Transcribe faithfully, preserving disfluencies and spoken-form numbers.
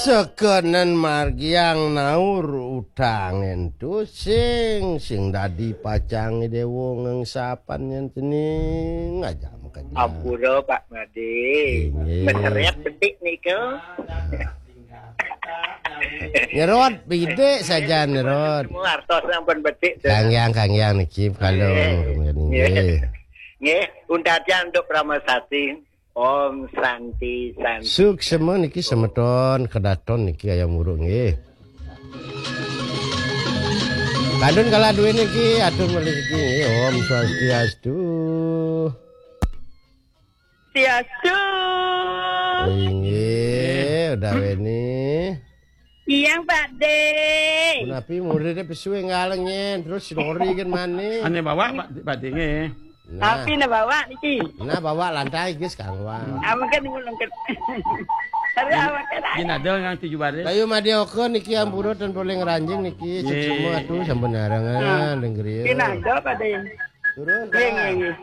Tekenen margiang naur utang ento sing, sing dadi pacang dewa ngengsapan yen cening aja makanya. Ampura, Pak Made. Inggih. Meseriat bedik nika. Nyerot, bedik saja nyerot. Semua artos sampun bedik, tuh. Kangyang, kangyang niki, kalau Nggih. Nggih. Nggih, untajan untuk Pramasati. Om Santi, Santi. Suksema niki semeton, kedaton niki ayam uruk nggih. Kandun kala duwe niki, atur malih niki nggih. Om Swastiastu. Swastiastu. Inggih, udah weni. Iyang, Pak De. Punapi muridnya pesuwe ngalengin, terus sinori kan maning. Ane bawa, Pak, Pak De nggih. Nah. Tapi na bawa niki. Nah, bawa lantai guys kangwa. Awaken ngulung ket. Tapi awaken ae. Yen ada ngang tujuh baris. Kayu madi oke niki ampura dan boleh ngeranjing niki. Nggih. Suksema atuh sampun arangan dengerin. Yen ada, Pak De. Turun. Nggih, nggih, nggih.